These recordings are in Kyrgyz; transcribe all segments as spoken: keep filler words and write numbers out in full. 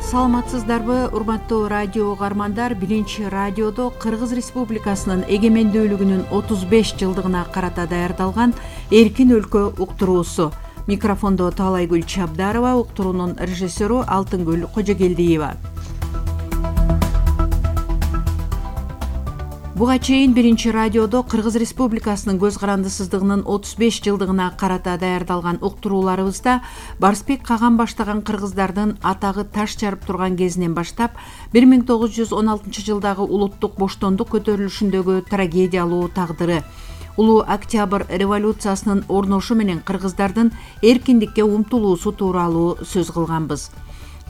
Саламатсыздарбы, урматтуу радио угармандар. Биринчи радиодо Кыргыз Республикасынын эгемендүүлүгүнүн отуз беш жылдыгына карата даярдалган Эркин өлкө уктуруусу. Микрофондо Таалайгүл Чабдарова, уктуруунун режиссеру Алтынгүл Кожогелдиева. Буга чейин Биринчи радиодо Кыргыз Республикасынын көз карандысыздыгынын отуз беш жылдыгына карата даярдалган уктурууларыбызда Барсбек Каган баштаган кыргыздардын атагы таш жарып турган кезинен баштап бир миң тогуз жүз он алтынчы жылдагы улуттук боштондук көтөрүлүшүндөгү трагедиялуу тагдыры, улуу Октябрь революциясынын орношу менен кыргыздардын эркиндикке умтулуусу тууралуу сөз кылганбыз.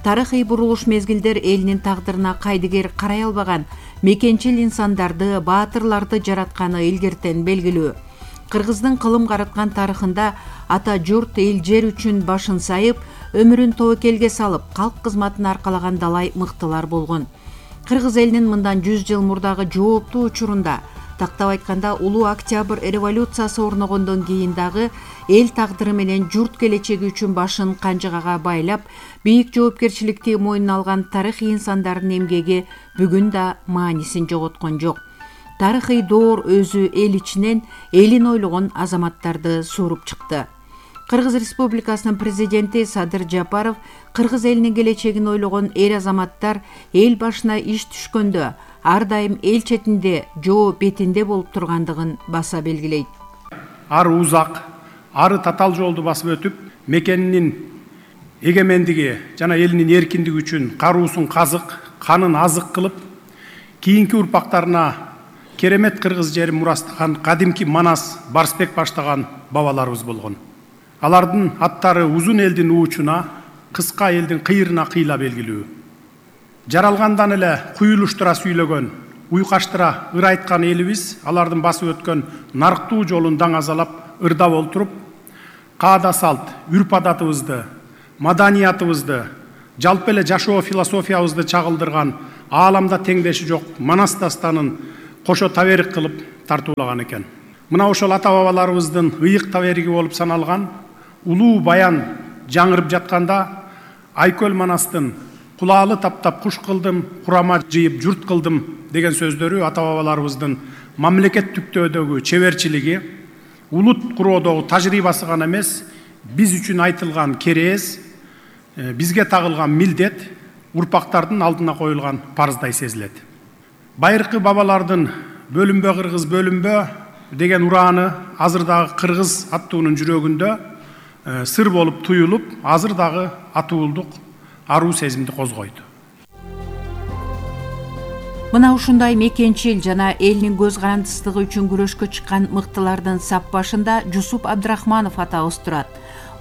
Тарыхый бурулуш мезгилдер элинин тагдырына кайдыгер карай албаган мекенчил инсандарды, баатырларды жаратканы илгертен белгилүү. Кыргыздын кылым караткан тарыхында ата журт, эл жер үчүн башын сайып, өмүрүн тобокелге салып, калк кызматын аркалаган далай мыктылар болгон. Кыргыз элинин мындан жүз жыл мурдагы жооптуу учурунда, тактап айтканда улуу Октябрь революциясы орногондон кийин дагы эл тагдыры менен журт келечеги үчүн башын канжыгага байлап, бийик жоопкерчиликти мойнуна алган тарыхый инсандардын эмгеги бүгүн да маанисин жоготкон жок. Тарыхый доор өзү эл ичинен элин ойлогон азаматтарды сууруп чыкты. Кыргыз Республикасынын президенти Садыр Жапаров кыргыз элинин келечегин ойлогон эр азаматтар эл башына иш түшкөндө ар дайым эл четинде, жоо бетинде болуп тургандыгын баса белгилейт. Ары узак, ары татаал жолду басып өтүп, мекенинин эгемендиги жана элинин эркиндиги үчүн каруусун казык, канын азык кылып, кийинки урпактарына керемет кыргыз жерин мурастаган кадимки Манас, Барсбек баштаган бабаларыбыз болгон. Алардын аттары узун элдин уучуна, кыска элдин кыйырына кыйла белгилүү. Жаралгандан эле куюлуштура сүйлөгөн, уйкаштыра ыр айткан элибиз алардын басып өткөн нарктуу жолун даңазалап, ырдап олтуруп, каада салт, үрп адатыбызды, маданиятыбызды, жалпы эле жашоо философиябызды чагылдырган ааламда теңдеши жок Манас дастанын кошо таберик кылып тартуулаган экен. Мына ошол ата бабаларыбыздын ыйык табериги болуп саналган улуу баян жаңырып жатканда Айкөл Манастын кулаалы таптап куш кылдым, курама жыйып журт кылдым деген сөздөрү ата бабаларыбыздын мамлекет түптөөдөгү чеберчилиги, улут куроодогу тажрыйбасы гана эмес, биз үчүн айтылган керез, бизге тагылган милдет, урпактардын алдына коюлган парыздай сезилет. Байыркы бабалардын бөлүнбө кыргыз бөлүнбө деген урааны азыр дагы кыргыз аттуунун жүрөгүндө сыр болуп туюлуп, азыр дагы атуулдук аруу сезимди козгойт. Мына ушундай мекенчил жана элинин көз карандысыздыгы үчүн күрөшкө чыккан мыктылардын сап башында Жусуп Абдрахманов атабыз турат.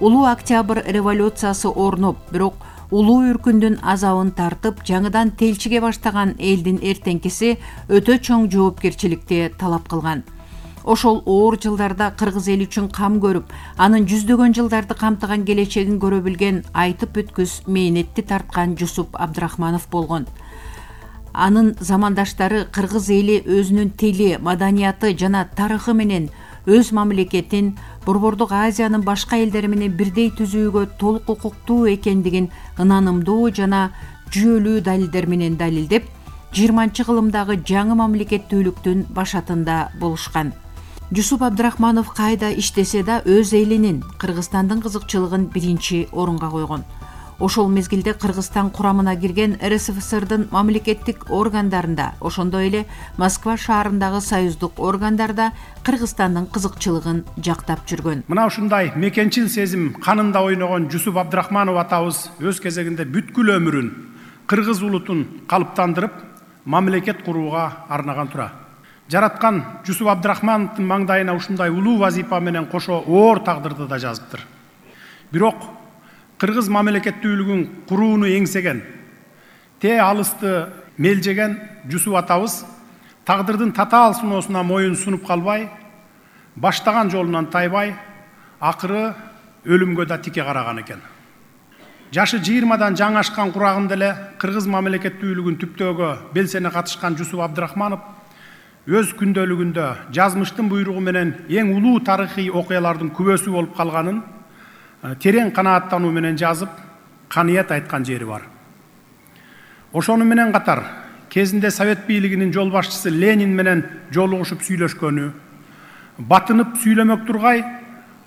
Улуу Октябрь революциясы орноп, бирок улуу үркүндүн азабын тартып, жаңыдан телчиге баштаган элдин эртеңкиси өтө чоң жоопкерчиликти талап кылган. Ошол оор жылдарда кыргыз эл үчүн кам көрүп, анын жүздөгөн жылдарды камтыган келечегин көрө билген, айтып бүткүс мээнетти тарткан Жусуп Абдрахманов болгон. Анын замандаштары кыргыз эли өзүнүн тили, маданияты жана тарыхы менен өз мамлекетин Борбордук Азиянын башка элдери менен бирдей түзүүгө толук укуктуу экендигин ынанымдуу жана жүйөлүү далилдер менен далилдеп, жыйырманчы кылымдагы жаңы мамлекеттүүлүктүн башатында болушкан. Жусуп Абдрахманов кайда иштесе да өз элинин, Кыргызстандын кызыкчылыгын биринчи орунга койгон. Ошол мезгилде Кыргызстан курамына кирген эр эс эф эс эрдин мамлекеттик органдарында, ошондой эле Москва шаарындагы союздук органдарда Кыргызстандын кызыкчылыгын жактап жүргөн. Мына ушундай мекенчил сезим канында ойногон Жусуп Абдрахманов атабыз өз кезегинде бүткүл өмүрүн кыргыз улутун калыптандырып, мамлекет курууга арнаган тура. Жараткан Жусуп Абдрахмановдун маңдайына ушундай улуу вазипа менен кошо оор тагдырды да жазыптыр. Бирок кыргыз мамлекеттүүлүгүн курууну эңсеген, те алысты мелжеген Жусуп атабыз тагдырдын татаал сыноосуна моюн сунуп калбай, баштаган жолунан тайбай, акыры өлүмгө да тике караган экен. Жашы жыйырмадан жаңы ашкан курагында эле кыргыз мамлекеттүүлүгүн түптөөгө белсене катышкан Жусуп Абдрахманов өз күндөлүгүндө жазмыштын буйругу менен эң улуу тарыхый окуялардын күбөсү болуп калганын терең канааттануу менен жазып, каныят айткан жери бар. Ошону менен катар кезинде Совет бийлигинин жол башчысы Ленин менен жолугушуп сүйлөшкөнү, батынып сүйлөмөк тургай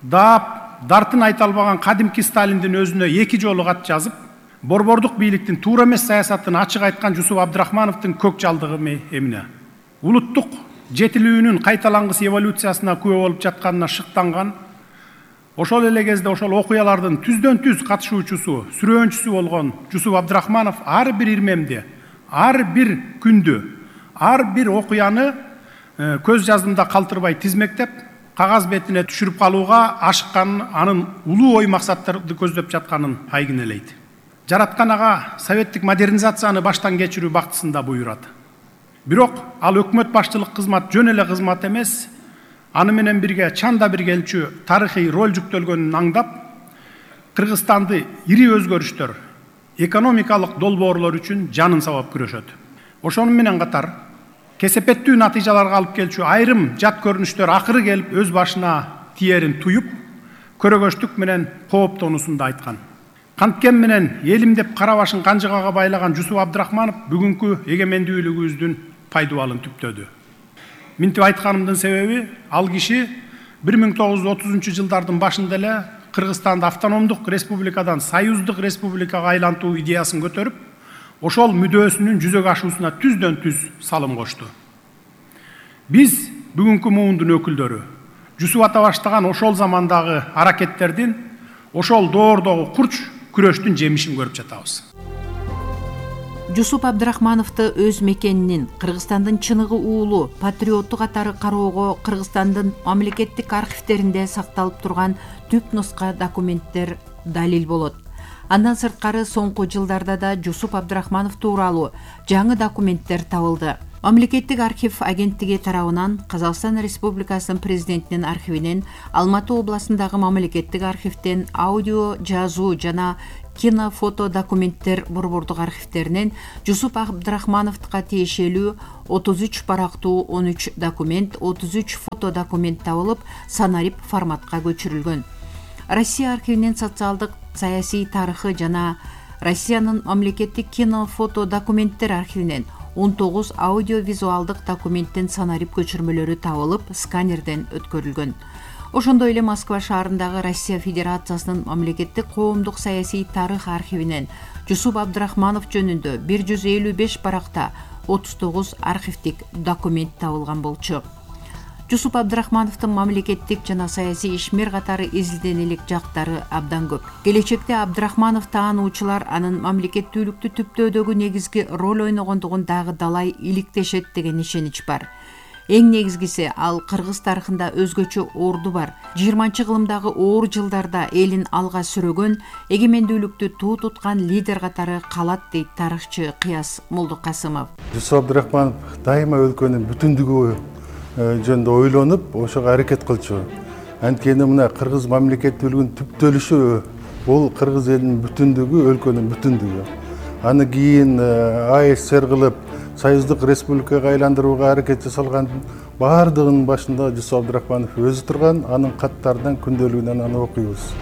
даап дартын айта албаган кадимки Сталиндин өзүнө эки жолу кат жазып, борбордук бийликтин туура эмес саясатын ачык айткан Жусуп Абдрахмановдун көк жалдыгы эмне. Улуттук жетилүүнүн кайталангыс эволюциясына күбө болуп жатканына шыктанган, ошол эле кезде ошол окуялардын түздөн түз катышуучусу, сүрөөнчүсү болгон Жусуп Абдрахманов ар бир ирмемди, ар бир күндү, ар бир окуяны көз жаздымда калтырбай тизмектеп, кагаз бетине түшүрүп калууга ашыкканын, анын улуу ой максаттарды көздөп жатканын айгинелейт. Жараткан ага советтик модернизацияны баштан кечирүү бактысында буйрат. Бирок ал өкмөт башчылык кызмат жөн эле кызмат эмес, аны менен бирге чанда бир келчү тарыхый роль жүктөлгөнүн аңдап, Кыргызстанды ири өзгөрүштөр, экономикалык долбоорлор үчүн жанын сабап күрөшөт. Ошону менен катар кесепеттүү натыйжаларга алып келчү айрым жат көрүнүштөр акыры келип өз башына тиерин туюп, көрөгөчтүк менен кооптонуусун да айткан. Канткен менен элим деп кара башын канжыгага байлаган Жусуп Абдрахманов бүгүнкү эгемендүүлүгүбүздүн пайдубалын түптөдү. Минтип айтканымдын себеби, ал киши бир миң тогуз жүз отузунчу жылдардын башында эле Кыргызстанды автономдук республикадан союздук республикага айлантуу идеясын көтөрүп, ошол мүдөөсүнүн жүзөгө ашуусуна түздөн түз салым кошту. Биз бүгүнкү муундун өкүлдөрү Жусуп ата баштаган ошол замандагы аракеттердин, ошол доордогу курч күрөштүн жемишин көрүп жатабыз. Жусуп Абдрахмановду өз мекенинин, Кыргызстандын чыныгы уулу, патриотту катары кароого Кыргызстандын мамлекеттик архивдеринде сакталып турган түп нуска документтер далил болот. Андан сырткары соңку жылдарда да Жусуп Абдрахманов тууралуу жаңы документтер табылды. Мамлекеттик архив агенттиги тарабынан Казакстан Республикасынын президентинин архивинен, Алматы областындагы мамлекеттик архивден аудио, жазуу жана кинофото документтер борбордук архивдеринен Жусуп Абдрахмановго тиешелүү отуз үч барактуу он үч документ, отуз үч фото документ табылып, санарип форматка көчүрүлгөн. Россия архивинен социалдык, саясий тарыхы жана Россиянын мамлекеттик кино-фото документтер архивинен он тогуз аудио-визуалдык документтин санарип көчүрмөлөрү табылып, сканерден өткөрүлгөн. Ошондой эле Москва шаарындагы Россия Федерациясынын мамлекеттик коомдук саясий тарых архивинен Жусуп Абдрахманов жөнүндө бир жүз элүү беш баракта отуз тогуз архивдик документ табылган болчу. Жусуп Абдрахмановдун мамлекеттик жана саясий ишмер катары изилденелик жактары абдан көп. Келечекте Абдрахманов таануучулар анын мамлекеттүүлүктү түптөөдөгү негизги роль ойногондугун дагы далай иликтешет деген ишенич бар. Эң негизгиси, ал кыргыз тарыхында өзгөчө орду бар. жыйырманчы кылымдагы оор жылдарда элин алга сүрөгөн, эгемендүүлүктү туу туткан лидер катары калат, дейт тарыхчы Кыяс Молдокасымов. Жусуп Абдрахманов дайыма өлкөнүн бүтүндүгү жөнүндө ойлонуп, ошого аракет кылчу. Анткени мына кыргыз мамлекеттүүлүгүнүн түптөлүшү бул кыргыз элинин бүтүндүгү, өлкөнүн бүтүндүгү. Аны кийин АССР кылып, союздук республикага айландырууга аракет жасалган баардыгынын башында Жусуп Абдрахманов өзү турган, анын каттарынан, күндөлүгүнөн аны окуйбуз.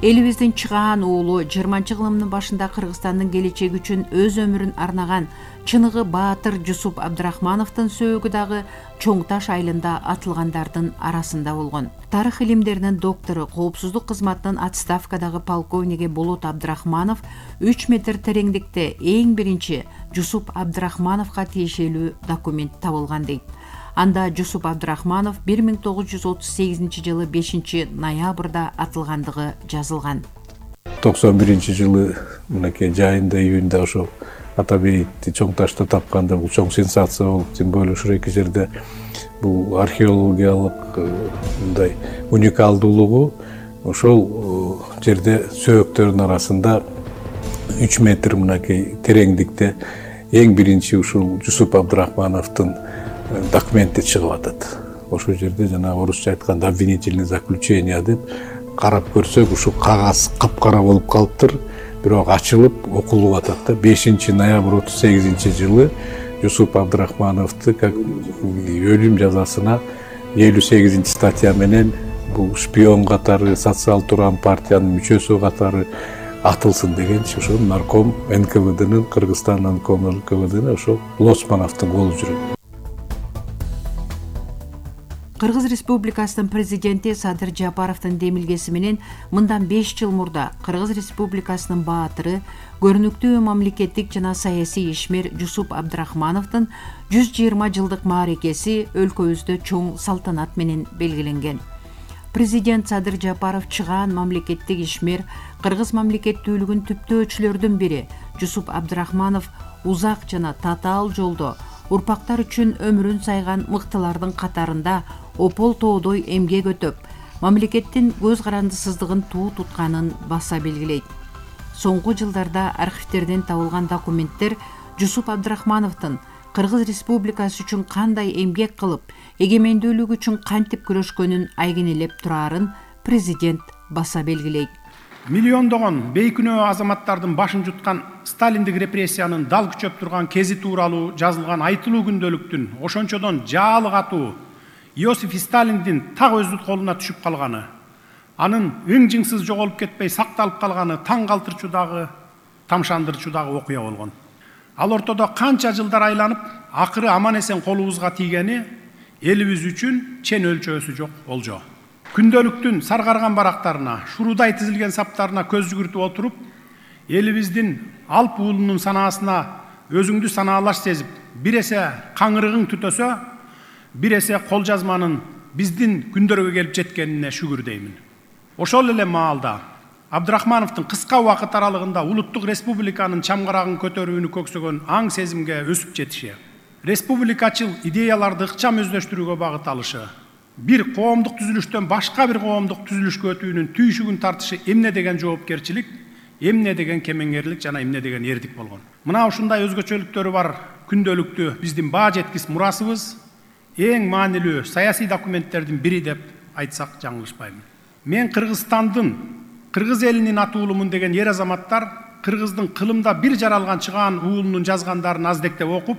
Элибиздин чыгаан уулу жыйырманчы кылымдын башында Кыргызстандын келечеги үчүн өз өмүрүн арнаган чыныгы баатыр Жусуп Абдрахмановдун сөөгү дагы Чоң Таш айылында атылгандардын арасында болгон. Тарых илимдеринин доктору, коопсуздук кызматынын отставкадагы полковниги Болот Абдрахманов үч метр тереңдикте эң биринчи Жусуп Абдрахмановго тиешелүү документ табылган дейт. Анда Жусуп Абдрахманов бир миң тогуз жүз отуз сегизинчи жылы бешинчи ноябрда атылгандыгы жазылган. токсон биринчи жылы мынакей жайында, июнда ошол Атабейди Чоң Ташта тапканда бул чоң сенсация болуп, тем более ушул эки жерде бул археологиялык мындай уникалдуулугу ошол жерде сөөктөрдүн арасында үч метр мынакей тереңдикте эң биринчи ушул Жусуп Абдрахмановдун документи чыгып атат. Ошол жерде жана орусча айтканда обвинительное заключение деп карап көрсөк, ушул кагаз капкара болуп калыптыр, бирок ачылып окулуп атат да. бешинчи ноябрь отуз сегизинчи жылы Жусуп Абдрахмановду как өлүм жазасына элүү сегизинчи статья менен бул шпион катары, социал турган партиянын мүчөсү катары атылсын дегенчи ошо нарком эн ка вэ днын Кыргызстан нарком эн ка вэ днын ошо Лосмановдун колу жүрөт. Кыргыз Республикасынын президенти Садыр Жапаровдун демилгеси менен мындан беш жыл мурда Кыргыз Республикасынын баатыры, көрүнүктүү мамлекеттик жана саясий ишмер Жусуп Абдрахмановдун жүз жыйырма жылдык мааракеси өлкөбүздө чоң салтанат менен белгиленген. Президент Садыр Жапаров чыгаан мамлекеттик ишмер, кыргыз мамлекеттүүлүгүн түптөөчүлөрдүн бири Жусуп Абдрахманов узак жана татаал жолдо урпактар үчүн өмүрүн сайган мыктылардын катарында опол тоодой эмгек өтөп, мамлекеттин көз карандысыздыгын туу тутканын баса белгилейт. Соңку жылдарда архивтерден табылган документтер Жусуп Абдрахмановдун Кыргыз Республикасы үчүн кандай эмгек кылып, эгемендүүлүк үчүн кантип күрөшкөнүн айгинелеп турарын президент баса белгилейт. Миллиондогон бейкүнөө азаматтардын башын жуткан сталиндик репрессиянын дал күчөп турган кези тууралуу жазылган айтылуу күндөлүктүн ошончодон жаалы катуу Иосиф Сталиндин так өздүн колуна түшүп калганы, анын ың-жыңсыз жоголуп кетпей сакталып калганы таң калтырчу дагы, тамшандырчу дагы окуя болгон. Ал ортодо канча жылдар айланып, акыры аман эсен колубузга тийгени элибиз үчүн чен өлчөөсү жок болжо. Күндөлүктүн саргарган барактарына, шурудай тизилген саптарына көз жүгүртүп отуруп, элибиздин алп уулунун санаасына өзүңдү санаалаш сезип, бир эсе каңырыгың түтөсө, бир эсе кол жазманын биздин күндөргө келип жеткенине шүгүр деймин. Ошол эле маалда Абдрахмановдун кыска убакыт аралыгында улуттук республиканын чамгарагын көтөрүүнү көксөгөн аң сезимге өсүп жетиши, республикачыл идеяларды ыкчам өздөштүрүүгө багыт алышы, бир коомдук түзүлүштөн башка бир коомдук түзүлүшкө өтүүнүн түйшүгүн тартышы эмне деген жоопкерчилик, эмне деген кемеңгерлик жана эмне деген эрдик болгон. Мына ушундай өзгөчөлүктөрү бар күндөлүктү биздин баа жеткис мурасыбыз, эң маанилүү саясий документтердин бири деп айтсак жаңылышпайм. Мен Кыргызстандын, Кыргыз элинин атуулумун деген ер азаматтар Кыргыздын кылымда бир жаралган чыгаан уулунун жазгандарын аздектеп окуп,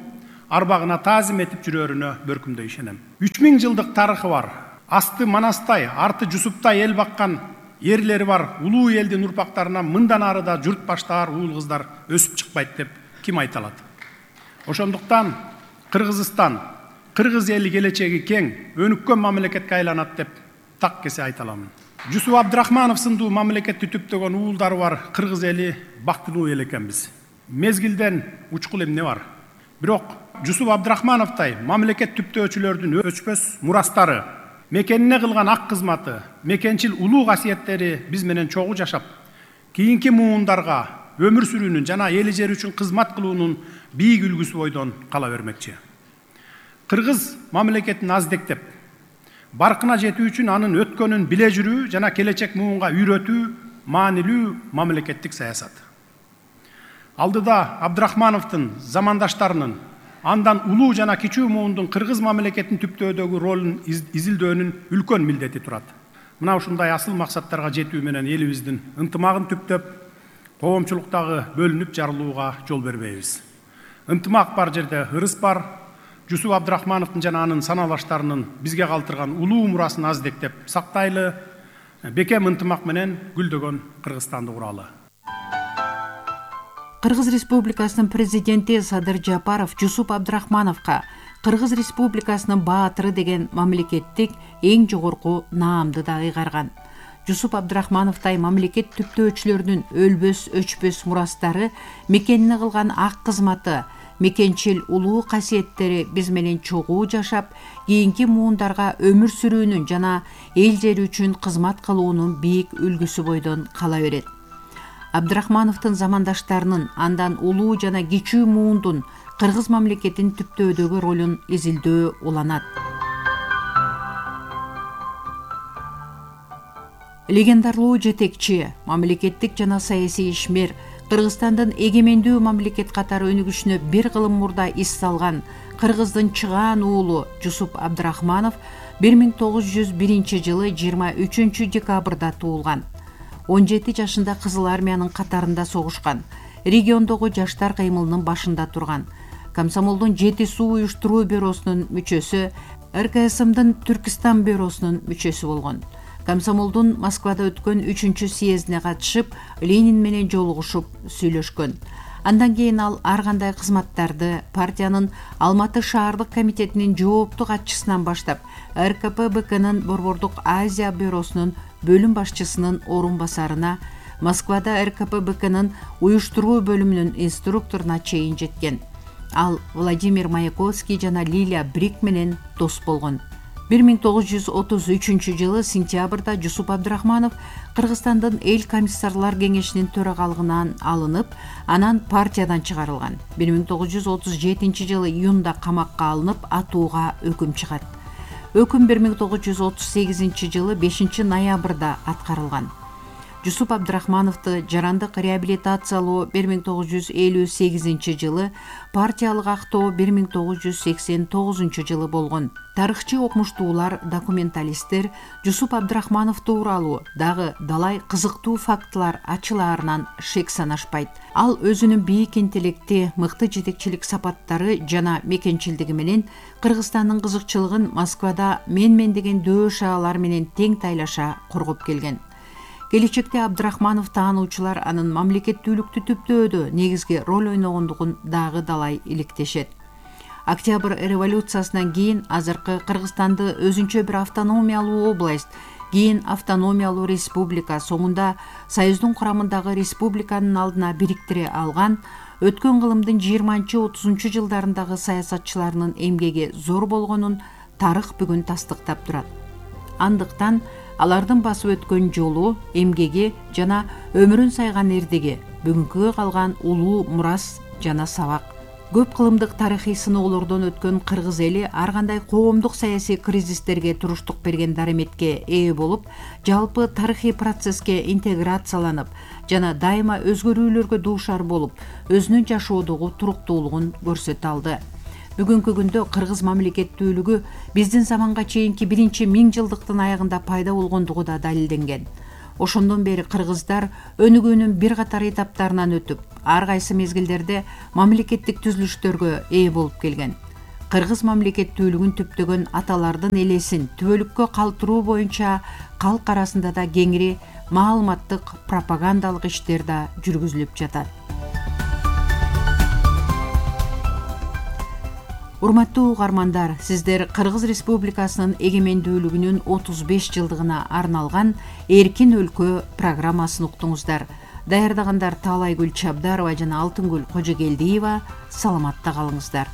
арбагына таазим этип жүрөрүнө бөркүмдөй ишенем. үч миң жылдык тарыхы бар, асты Манастай, арты Жусуптай эл баккан ерлери бар улуу элдин урпактарынан мындан ары да журт баштаар уул кыздар өсүп чыкпайт деп ким айта алат? Ошондуктан Кыргызстан, Кыргыз эли келечеги кең, өнүккөн мамлекетке айланат деп так кесе айта аламын. Жусуп Абдрахманов сындуу мамлекетти түптөгөн уулдары бар Кыргыз эли бактылуу эл экенбиз. Мезгилден учкул эмне бар? Бирок Жусуп Абдрахмановтай мамлекет түптөөчүлөрдүн өчпөс мурастары, мекенине кылган ак кызматы, мекенчил улуу касиеттери биз менен чогуу жашап, кийинки муундарга өмүр сүрүүнүн жана эли жери үчүн кызмат кылуунун бийик үлгүсү бойдон кала бермекчи. Кыргыз мамлекетин аздектеп, баркына жетүү үчүн анын өткөнүн биле жүрүү жана келечек муунга үйрөтүү маанилүү мамлекеттик саясат. Алдыда Абдрахмановдун замандаштарынын, андан улуу жана кичүү муундун кыргыз мамлекетин түптөөдөгү ролун изилдөөнүн үлкөн милдети турат. Мына ушундай асыл максаттарга жетүү менен элибиздин ынтымагын түптөп, коомчулуктагы бөлүнүп жарылууга жол бербейбиз. Ынтымак бар жерде ырыс бар. Жусуп Абдрахмановдун жана анын саналаштарынын бизге калтырган улуу мурасын аздектеп сактайлы, бекем ынтымак менен гүлдөгөн Кыргызстанды куралы. Кыргыз Республикасынын президенти Садыр Жапаров Жусуп Абдрахмановго Кыргыз Республикасынын баатыры деген мамлекеттик эң жогорку наамды да ыйгарган. Жусуп Абдрахмановтай мамлекет түптөөчүлөрдүн өлбөс өчпөс мурастары, мекенине кылган ак кызматы, мекенчил улуу касиеттери биз менен чогуу жашап, кийинки муундарга өмүр сүрүүнүн жана эл жери үчүн кызмат кылуунун бийик үлгүсү бойдон кала берет. Абдрахмановдун замандаштарынын андан улуу жана кичүү муундун кыргыз мамлекетин түптөөдөгү ролун изилдөө уланат. Легендарлуу жетекчи, мамлекеттик жана саясий ишмер, Кыргызстандын эгемендүү мамлекет катары өнүгүшүнө бир кылым мурда ис салган Кыргыздын чыгаан уулу Жусуп Абдрахманов бир миң тогуз жүз биринчи жылы жыйырма үчүнчү декабрда туулган. он жети жашында Кызыл армиянын катарында согушкан. Региондогу жаштар кыймылынын башында турган. Комсомолдун жети суу уюштуруу бюросунун мүчөсү, эр ка эс эмдин Түркистан бюросунун мүчөсү болгон. Комсомолдун Москвада өткөн үчүнчү съездине катышып, Ленин менен жолугушуп сүйлөшкөн. Андан кийин ал ар кандай кызматтарды партиянын Алматы шаардык комитетинин жоопту катчысынан баштап, эр ка пэ бэ кнын Борбордук Азия бюросунун бөлүм башчысынын орун басарына, Москвада эр ка пэ бэ кнын уюштуруу бөлүмүнүн инструкторуна чейин жеткен. Ал Владимир Маяковский жана Лилия Брик менен дос болгон. бир миң тогуз жүз отуз үчүнчү жылы сентябрда Жусуп Абдрахманов Кыргызстандын эл комиссарлар кеңешинин төрагалыгынан алынып, анан партиядан чыгарылган. бир миң тогуз жүз отуз жетинчи жылы июнда камакка алынып, атууга өкүм чыгат. Өкүм бир миң тогуз жүз отуз сегизинчи жылы бешинчи ноябрда аткарылган. Жусуп Абдрахмановду жарандык реабилитациялоо бир миң тогуз жүз элүү сегизинчи жылы, партиялык актоо бир миң тогуз жүз сексен тогузунчу жылы болгон. Тарыхчы окумуштуулар, документалисттер Жусуп Абдрахманов тууралуу дагы далай кызыктуу фактылар ачылаарынан шек санашпайт. Ал өзүнүн бийик интеллекти, мыкты жетекчилик сапаттары жана мекенчилдиги менен Кыргызстандын кызыкчылыгын Москвада мен-мен деген дөө шаалар менен тең тайлаша коргоп келген. Келечекте Абдрахманов таануучулар анын мамлекеттүүлүктү түптөөдө негизги роль ойногондугун дагы далай иликтешет. Октябрь революциясынан кийин азыркы Кыргызстанды өзүнчө бир автономиялуу область, кийин автономиялуу республика, соңунда Союздун курамындагы республиканын алдына бириктире алган, өткөн кылымдын жыйырманчы отузунчу жылдарындагы саясатчыларынын эмгеги зор болгонун тарых бүгүн тастыктап турат. Андыктан алардын басып өткөн жолу, эмгеги жана өмүрүн сайган эрдиги бүгүнкүгө калган улуу мурас жана сабак. Көп кылымдык тарыхый сыноолордон өткөн кыргыз эли ар кандай коомдук саясий кризистерге туруштук берген дареметке ээ болуп, жалпы тарыхый процесске интеграцияланып жана дайыма өзгөрүүлөргө дуушар болуп, өзүнүн жашоодогу туруктуулугун көрсөтө алды. Бүгүнкү күндө кыргыз мамлекеттүүлүгү биздин заманга чейинки биринчи миң жылдыктын аягында пайда болгондугу да далилденген. Ошондон бери кыргыздар өнүгүүнүн бир катар этаптарынан өтүп, ар кайсы мезгилдерде мамлекеттик түзүлүштөргө ээ болуп келген. Кыргыз мамлекеттүүлүгүн түптөгөн аталардын элесин түбөлүккө калтыруу боюнча калк арасында да кеңири маалыматтык, пропагандалык иштер да жүргүзүлүп жатат. Урматтуу угармандар, сиздер Кыргыз Республикасынын эгемендүүлүгүнүн отуз беш жылдыгына арналган Эркин өлкө программасын уктуңуздар. Даярдагандар Таалайгүл Чабдарова жана Алтынгүл Кожогелдиева. Саламатта калыңыздар.